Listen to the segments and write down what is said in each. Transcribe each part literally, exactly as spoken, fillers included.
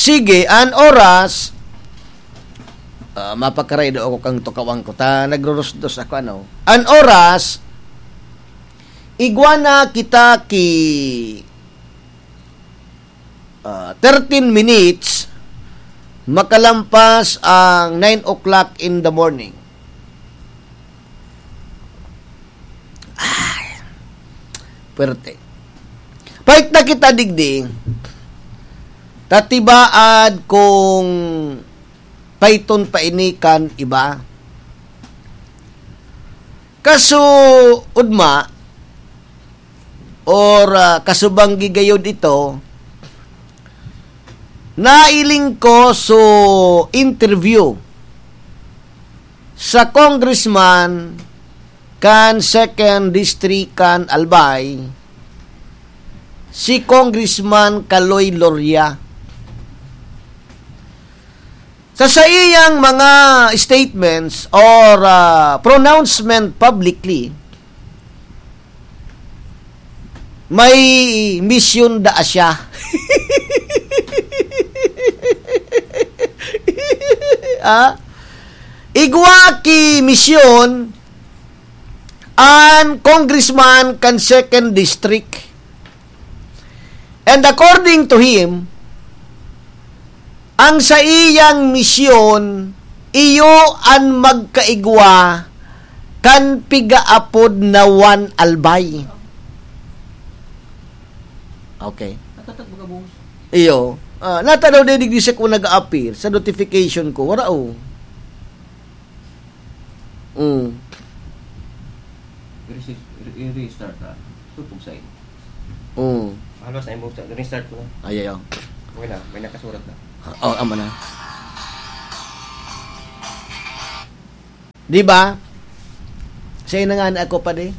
Sige, an oras, ah, mapakaray daw ako kan tukawan ko. Ta, nagrurusdos ako, ano. An oras, igwa na kita ki, ah, thirteen minutes, makalampas ang nine o'clock in the morning. Ay, puwerte. Pait na kita digdi. Ta tibaad kung paiton pa ini kan iba. Kaso, ugma, or, ah, kasubang gigayod ito, nailing ko so interview sa congressman kan Second District kan Albay, si Congressman Kaloy Loria. Sa saiyang mga statements or, ah, pronouncement publicly, may misyon daa siya. Ah? Igwa ki misyon an congressman kan Second District. And according to him, ang saiyang misyon, iyo an magkaigwa kan pigaapod na One Albay. Okay. Natatat baga, boss? Iyo. Ah, natanaw na digdi siya kung nag-a-appear sa notification ko. Wala, oh. Mm. I-restart, i-restart, ah. Supog sa inyo. Mm. Halos na yung buksan. Restart ko na. Ay, ay, oh. Okay na, may nakasurat na. Oh, ama na. Di ba? Siya na nga na ako pa di.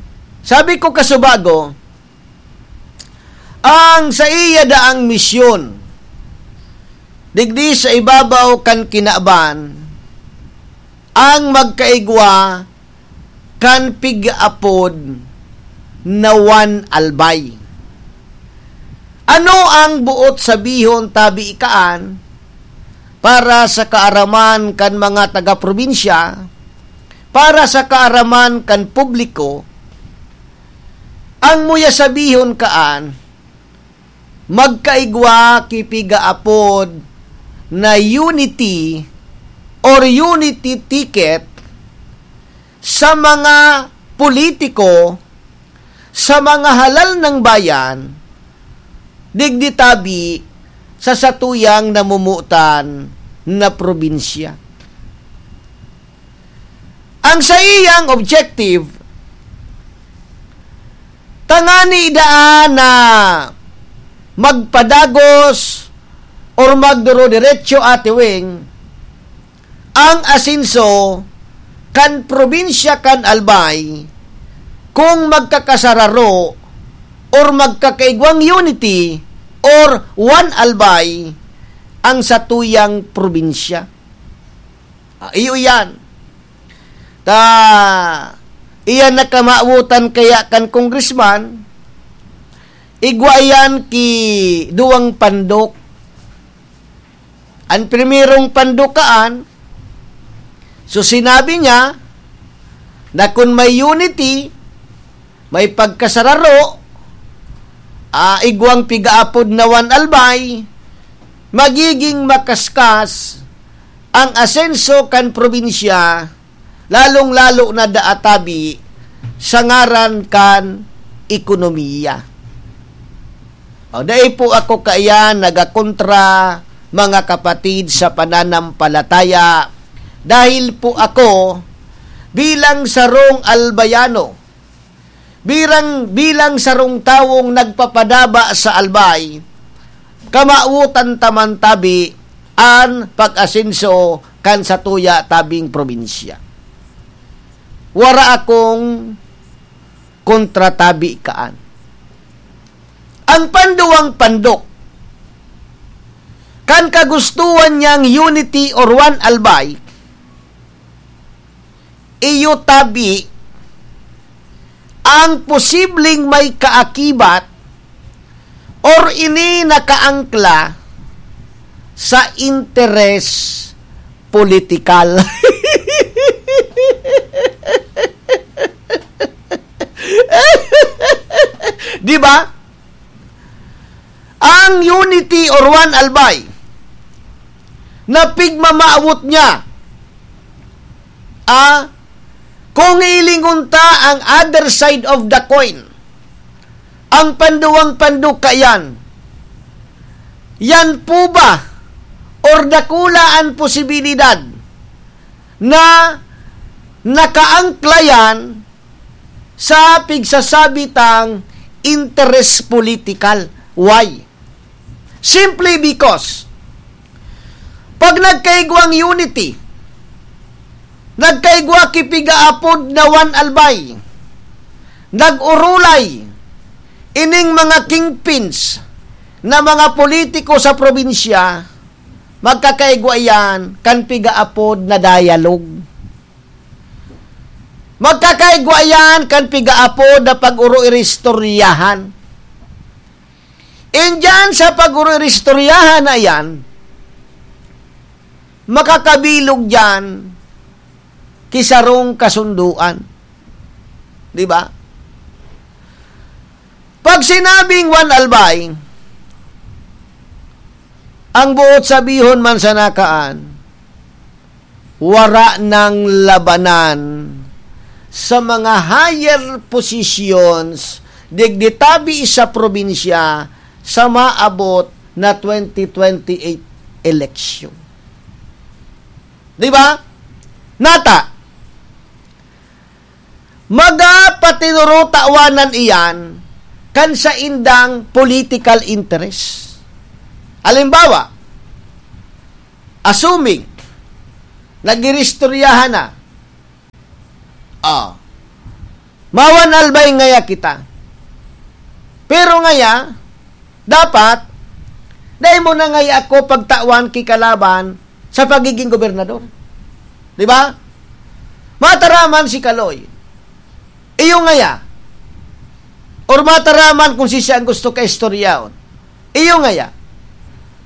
Sabi ko kasubago, ang saiya daang misyon, digdi sa ibabaw kan kinaban, ang magkaigwa kan pigaapod na One Albay. Ano ang boot sabihon tabi kaan para sa kaaraman kan mga taga-probinsya, para sa kaaraman kan publiko? Ang muya sabihon kaan, magkaigwa ki pigaapod na unity or unity ticket sa mga politiko, sa mga halal ng bayan, digdi tabi sa satuyang namumutan na probinsya. Ang saiyang objective, tangani daan na magpadagos or magduro-diretso, Ate Weng, ang asenso kan probinsya kan Albay kung magkakasararo or magkakaigwang unity or One Albay ang satuyang probinsya. Ah, iyo iyan. Ta, iyan na kamawotan kaya kan congressman, igwa iyan ki duwang pandok. An primerong pandok kaan, so sinabi niya na kun may unity, may pagkasararo, ah, igwang pigaapod na One Albay, magiging makaskas ang asenso kan probinsya, lalong-lalo na daa tabi sa ngaran kan ekonomiya. O, dai po ako kaiyan nagakontra, mga kapatid sa pananampalataya, dahil po ako bilang sarong Albayano, birang, bilang sarong tawong nagpapadaba sa Albay, kamawotan ta man tabi an pag-asenso kan satuya tabing probinsya. Wara akong kontra tabi kaan. Ang panduwang pandok, kan kagustuhan niyang unity or One Albay, iyo tabi ang posibleng may kaakibat or ini nakaangkla sa interes politikal. Di ba? Ang Unity or Juan Albay, na pigmamawot niya, ah, kung hilingon ta ang other side of the coin, ang panduwang panduka yan, yan po ba or dakula an posibilidad na nakaangkla yan sa pigsasabi tang interes politikal? Why? Simply because, pag nagkaigwang Unity, nagkaigwa ki pigaapod na Juan Albay, nag-orolay ining mga kingpins na mga politiko sa probinsya, magkakaigwa iyan kan pigaapod na dialogue. Magkakaigwa iyan kan pigaapod na pag-oroiristoryahan. Indiyan sa pag-oroiristoryahan na iyan, makakabilog diyan ki sarong kasundoan. Di ba? Pag sinabing Juan Albay, ang boot sabihon man sana kaan, wara nang labanan sa mga higher positions digdi tabi sa probinsya sa maabot na twenty twenty-eight election. Di ba? Nata, maga patinurutawan iyan kan saindang political interest. Halimbawa, assuming, nag-iristoryahan na. Ah. Ma-Juan Albay ngaya kita. Pero ngaya, dapat, dai mo na ngaya ako pagtawan ki kalaban sa pagiging gobernador. Di ba? Mataraman si Kaloy. Iyo ngaya. Or mataraman kung siya ang gusto kaistoryahon. Iyo ngaya.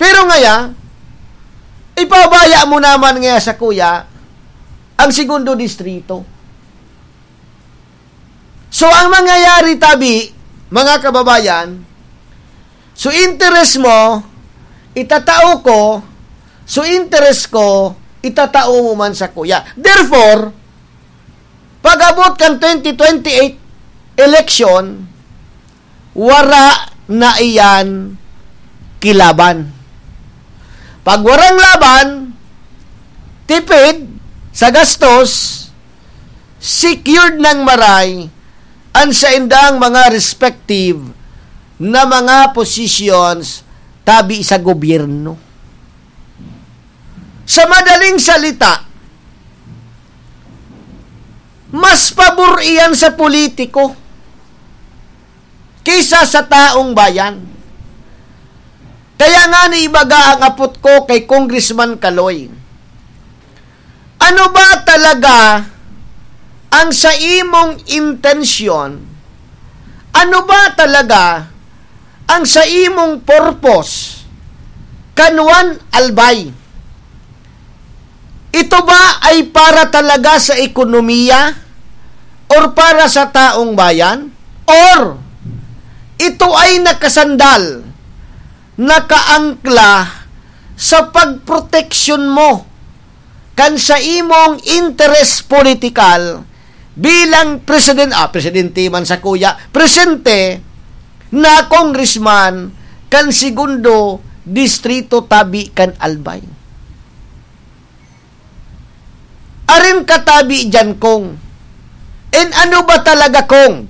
Pero ngaya, ipabaya mo naman ngaya sa kuya ang segundo distrito. So, ang mangyayari tabi, mga kababayan, so interes mo, itatao ko, so interes ko, itatao mo man sa kuya. Therefore, pag-abot kan twenty twenty-eight election, wara na iyan ki laban. Pag warang laban, tipid sa gastos, secured nang maray an saindang mga respective na mga positions tabi sa gobyerno. Sa madaling salita, mas pabor iyan sa politiko kaysa sa taong bayan. Kaya nga ni ibaga ang apot ko kay Congressman Kaloy. Ano ba talaga ang sa imong intensyon? Ano ba talaga ang sa imong purpose kan Juan Albay? Ito ba ay para talaga sa ekonomiya or para sa taong bayan? Or ito ay nakasandal, nakaangkla sa pagproteksyon mo kan sa imong interes politikal bilang presiden-, ah, presidente man sa kuya, presente na congressman kan segundo distrito tabi kan Albay. Arin katabi diyan, Kong. And ano ba talaga, Kong,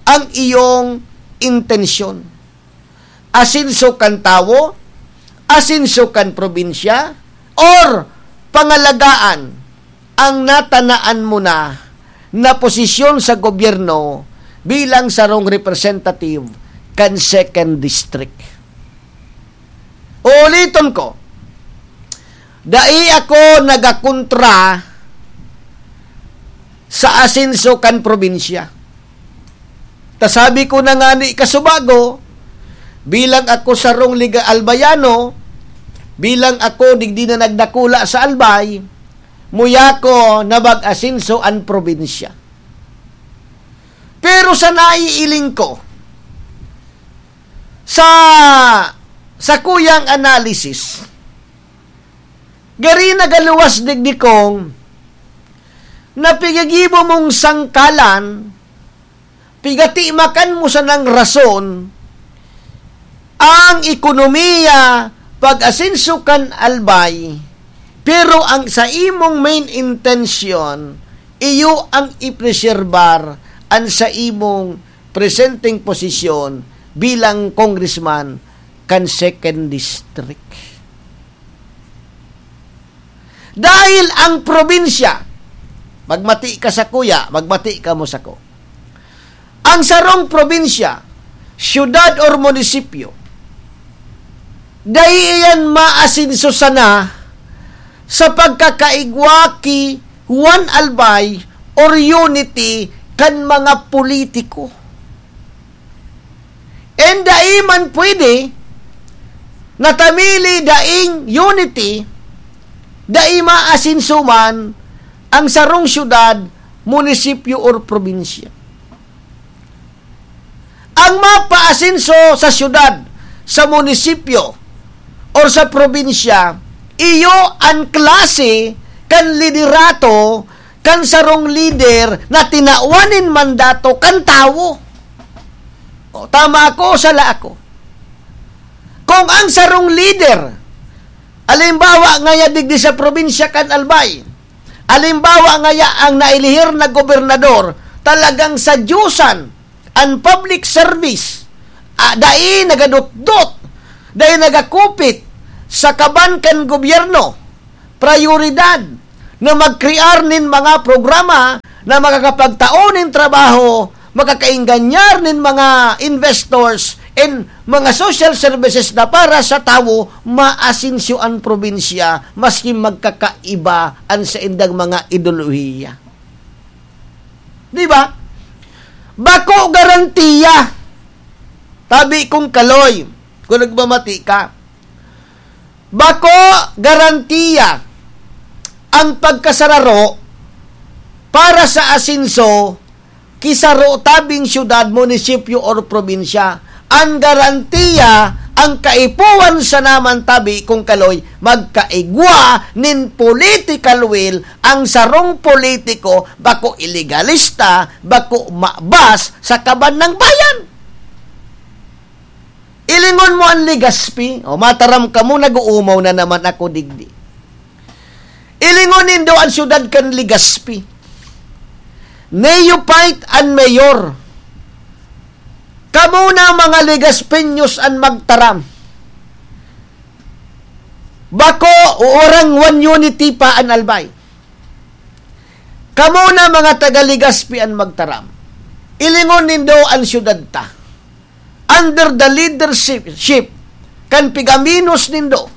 ang iyong intensyon? Asenso kan tawo? Asenso kan probinsya? Or pangalagaan ang natanaan mo na, na posisyon sa gobyerno bilang sarong representative kan second district? Uuliton ko, dai ako nagakontra sa asenso kan probinsya. Ta sabi ko na ngani kasubago, bilang ako sarong liga Albayano, Bilang ako digdi na nagdakula sa Albay, muya ko na mag-asenso an probinsya. Pero sa naiiling ko, sa, sa kuyang analysis, gari nagaluwas digdi kong napigigibo mong sangkalan, pigatimakan mo sanang rason, ang ekonomiya, pag-asenso kan Albay, pero ang sa imong main intention, iyo ang ipreserbar an sa imong presenteng posisyon bilang congressman kan second district. Dahil ang probinsya, magmati ka sa kuya, magmati ka mo sako. Ang sarong probinsya, syudad or munisipyo, dai iyan maasenso sana sa pagkakaigwa ki Juan Albay or unity kan mga politiko. And dai man pwede na ta mili daing unity, dai maasenso man ang sarong syudad, munisipyo, or probinsya. Ang mapaasenso sa syudad, sa munisipyo, or sa probinsya, iyo an klase kan liderato kan sarong lider na tinawan nin mandato kan tawo. O, tama ako o sala ako? Kung ang sarong lider, alimbawa ngaya digdi sa probinsya kan Albay, alimbawa ngaya ang nailihir na gobernador, talagang sa Diyosan, an public service, ah, dai nagadotdot, dai nagakupit sa kaban kan gobyerno, prayoridad na magkrear nin mga programa na makakapagtao nin trabaho, makakaingganyar nin mga investors and mga social services na para sa tawo, maasenso an probinsya, maski magkakaiba an saindang mga ideolohiya. Di ba? Bako garantiya. Tabi kong kaloy, kung nagmamati ka. Bako garantiya ang pagkasararo para sa asenso ki saro tabing syudad, munisipyo, or probinsya. An garantiya, ang kaipuhan sana man tabi kong kaloy, magkaigwa nin political will ang sarong politiko, bako ilegalista, bako mabas sa kaban ng bayan. Ilingon mo an Legazpi, o mataram kamo, nag-uumaw na naman ako digdi. Ilingon nindo an syudad kan Legazpi. Neophyte an mayor. Kamo na mga Legazpeños an magtaram. Bako, warang One Unity pa an Albay. Kamo na mga taga Legazpi an magtaram. Ilingon nindo an syudad ta. Under the leadership kan pigaminos nindo,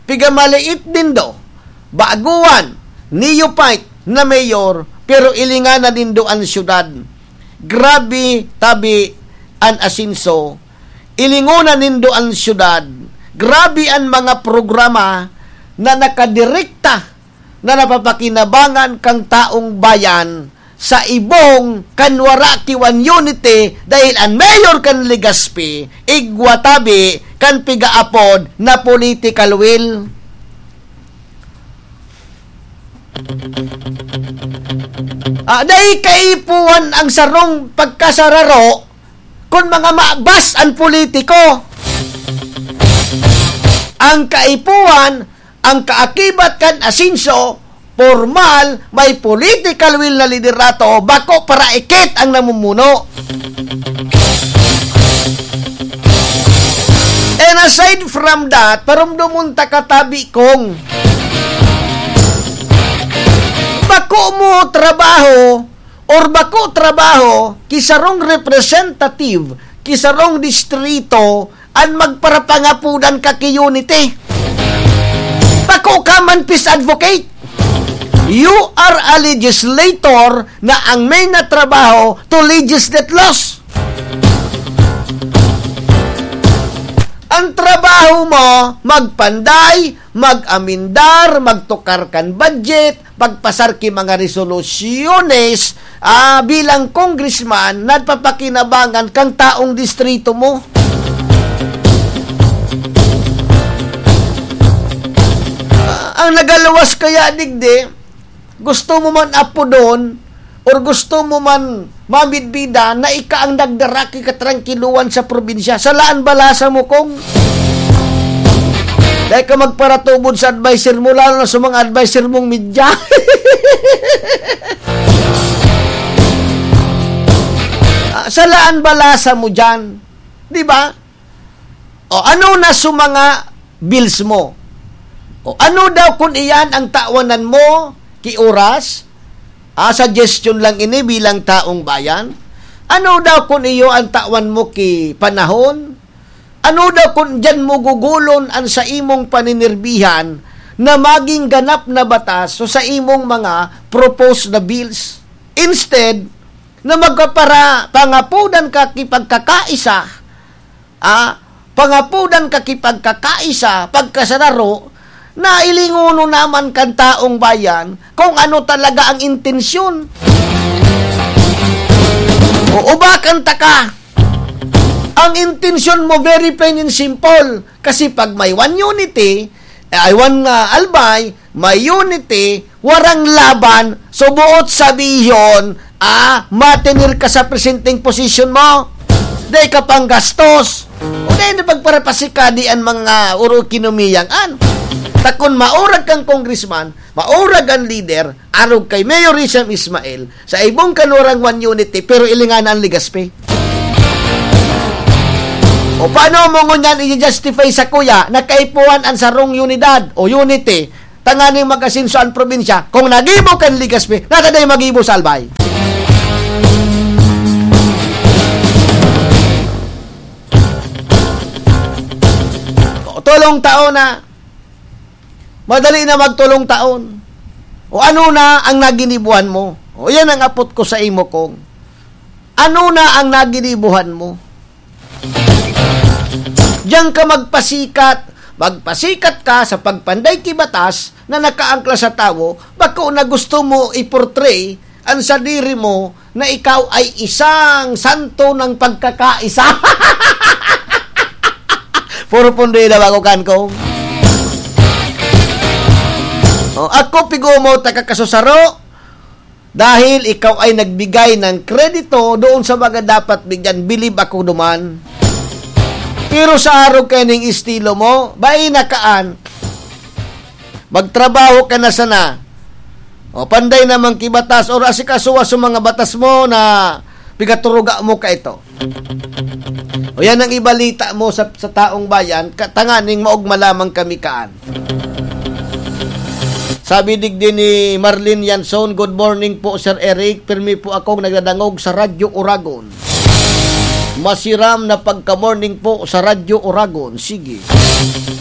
pigamaliit nindo, baguan, neophyte na mayor, pero ilinganan nindo an syudad. Grabe tabi an asenso. Ilingonan nindo an syudad. Grabe an mga programa na nakadirekta na napapakinabangan kan taong bayan sa ibong kan wara ki One Unity, dahil an mayor kan Legazpi, igwa tabi kan pigaapod na political will. Ah, dai kaipuhan ang sarong pagkasararo kun mga mabas an politiko. Ang kaipuhan, ang kaakibat kan asenso, pormal, may political will na liderato, bako paraikit ang namumuno. And aside from that, parumdomon ta katabi kong bako mo trabaho or bako trabaho ki sarong representative, ki sarong distrito, an magparapangapodan ka ki unity. Bako ka man peace advocate. You are a legislator na ang main na trabaho to legislate laws. Ang trabaho mo, magpanday, mag-amendar, magtukar kan budget, magpasar ki mga resolusyones, ah, bilang congressman, nagpapakinabangan kang taong distrito mo. Ah, ang nagaluwas kaya, digdi, gusto mo man apodon, or gusto mo man mamidbidan na ika ang nagdara ki katrankiluhan sa probinsya, salaan balasa mo, kung dai ka magparatubod sa adviser mo, lalo na sa mga adviser mong media. Ah, salaan balasa mo dyan. Di ba? O ano na sa mga bills mo? O ano daw kun iyan ang tawanan mo ki oras? Ah, suggestion lang ini bilang taong bayan. Ano daw kun iyo ang tawan mo ki panahon? Ano daw kun diyan mo gugulon an sa imong paninirbihan na maging ganap na batas o sa imong mga proposed na bills? Instead na magpapara-, pangapudan ka ki pagkakaisa, ah, pangapudan ka ki pagkakaisa, pagkasararo, na ilingono naman kan taong bayan kung ano talaga ang intensyon. O ubakan taka, ang intensyon mo very plain and simple. Kasi pag may one unity, ay one, ah, Albay, may unity, warang laban, so boot sabihon, ah, matenir ka sa presenteng posisyon mo. Dai ka pang gastos. O dai na pagparapasikadi an mga uro kinomiyang an. Ta kun maurag kang congressman, maurag an leader, arog kay Mayor Rizam Ismail, sa ibong kanurang one unity, pero ilingan an Legazpi. O paano mo ngunyan i-justify sa kuya na kaipuhan an sarong unidad o unity tanganing mag-asenso an probinsya kung nagibo kan Legazpi, nata dai magibo sa Albay? O, tolong taon na. Madali na magtolong taon. O ano na ang naginibuhan mo? O yan ang apot ko sa imo, kong. Ano na ang naginibuhan mo? Diyan ka magpasikat. Magpasikat ka sa pagpanday ki batas na nakaangkla sa tawo, bako na gusto mo i-portray an sadiri mo na ikaw ay isang santo ng pagkakaisa. Puro pundi na ba ako, kan, kong? O, ako, pigumaw ta ka kasusaro, dahil ikaw ay nagbigay ng kredito doon sa mga dapat bigyan, bilib ako duman. Pero sa arog kaining estilo mo, baina kaan. Magtrabaho ka na sana. O, panday naman ki batas, or asikasuha sa mga batas mo na pigaturuga mo ka ito. O yan ang ibalita mo sa, sa taong bayan, ka-, tanganing maogma lamang kami kaan. Sabi digdi ni Marlene Yanson, "Good morning po, Sir Eric. Pirmi po akong nagdadangog sa Radyo Oragon. Masiram na pagka-morning po sa Radyo Oragon." Sige.